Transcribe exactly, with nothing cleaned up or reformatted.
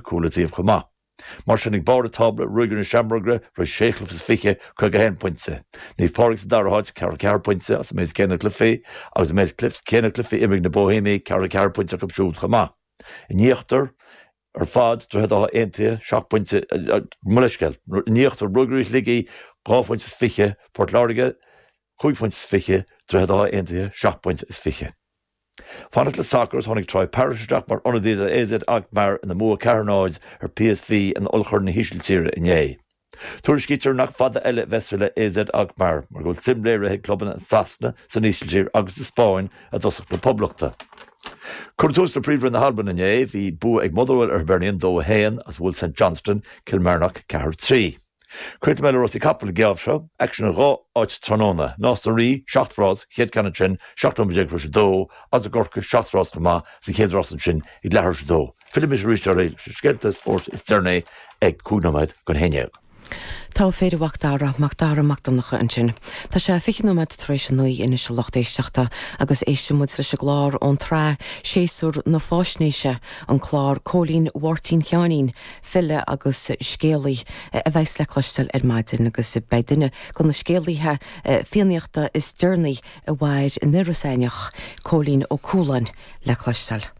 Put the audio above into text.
cúl an taobh chomh maith. Mar sin ag barr an tábla, Ruagairí na Seamróige tar éis sé chluiche is fiche, caoga a haon pointe. Naomh Pádraig sa dara háit, ceathracha ceathair pointe as an méid céanna cluichí agus an méid céanna cluichí imeartha ag na Boihéamaigh, ceathracha ceathair pointe acu siúd chomh maith. In íochtar ar fad, Droichead Átha Aontaithe, seacht bpointe, mo leithscéal, in íochtar, Ruagairí Shligigh, dhá phointe is fiche, Port Láirge, cúig phointe is fiche, Droichead Átha Aontaithe, seacht bpointe is fiche. Fanacht le sacar, tháinig Troy Parrott isteach mar ionadaí do AZ Alkmaar ina mbua ceathair náid ar PSV in Ollchorn na hÍsiltíre inné. Tuairiscítear nach fada eile a bheas sé le AZ Alkmaar mar go bhfuil suim léirithe ag clubanna i Sasana, san Ísiltír agus sa Spáinn i dtosach na Poblachta. Cuireadh tús le Príomhroinn na hAlban inné, bhí bua ag Motherwell ar Hibernian dó a haon agus bhuail St Johnstone Kilmarnock ceathair trí. Críochnóidh mé le rásaí capall an geábh seo, aicsean in dhá áit tráthnóna, Nás na Rí, seacht rás, chéad ceann ansin, seacht nóiméad déag tar éis a dó, agus i gCorcaigh, seacht rás chomh maith, sa chéad rás ansin ag leathuair tar éis a dó. Fillfidh mise arís oraibh leis na scéalta spóirt is deireanaí ag cúig nóiméad don haon déag. Tá Féile Mhac Dara, Mac Dara Mac Donncha ansin. Tá sé fiche nóiméad tar éis a naoi anois a lucht éisteachta agus éistfidh muid leis an gclár ón tsraith Séasúr na Fáisnéise, an clár Cóilín Mháirtín Sheáinín, file agus scéalaí a bheas le cloisteáil ar maidin agus beidh duine de na scéalaithe Fiannaíochta is deireanaí a mhair in Iorras Aithneach, Cóilín Ó Cualáin, le cloisteáil.